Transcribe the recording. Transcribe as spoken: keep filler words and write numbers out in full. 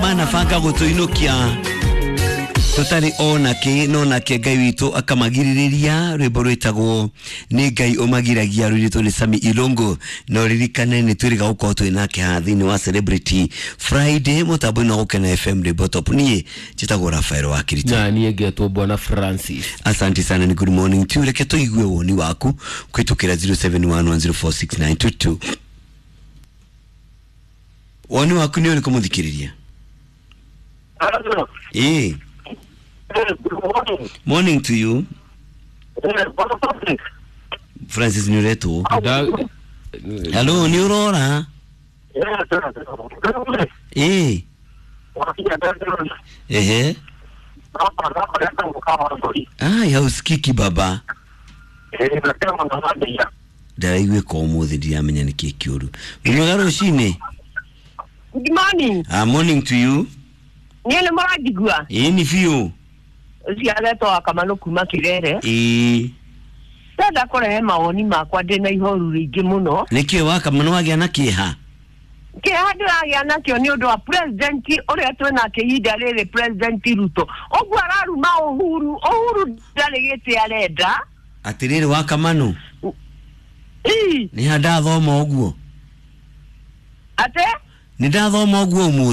Manabanga gũtũinũkia tũtarĩ ona kĩ no nake Ngai witũ akamagirĩrĩria. Rwĩmbo rwĩtagwo nĩ Ngai ũmagiragia, rũirĩtwo nĩ Sami Ilongo. Na ũririkane nĩ twĩrĩga gũkorwo twĩ nake haha thĩinĩ wa Celebrity Friday mũtambo-inĩ wa Gũkena F M rwĩmbo top. Niĩ njĩtagwo Rafael wa Kirito. Na niĩ ngetwo Bwana Francis. Asante sana, ni good morning tu. Reke tũigue woni waku kũhĩtũkĩra zero seven one one zero four six nine two two. Woni waku nĩ ũrĩkũ, mũthikĩrĩria? Ĩĩ, morning to you. Francis, nĩ ũretwo. Hello, nĩ ũrora? Ĩĩ, ehe. Ai, hausikiki baba. Ndaraiguĩka ũmũthĩ, ndiramenya nĩkĩ kĩũru. Wĩ mwega rũcinĩ. Good morning. Ah, morning to you. Niĩ nĩ mũranjigua? Ĩĩ, nĩ biũ. Ũcio aretwo wa Kamanũ kuma Kĩrere. Ĩĩ. Ndenda kũrehe mawoni makwa ndĩ na ihoru rĩingĩ mũno. Nĩkĩ wa Kamanũ wagĩa na kĩeha? Kĩeha ndĩragĩa nakĩo nĩ ũndũ wa president ũrĩa twĩnake ihinda rĩrĩ, President Ruto. Ũguo araruma Uhuru. Uhuru ndarĩ gĩtĩ arenda. Atĩrĩrĩ wa Kamanũ, Ii, nĩ ha ndathoma ũguo? Ate? Nĩ ndathoma ũguo ũmũthĩ.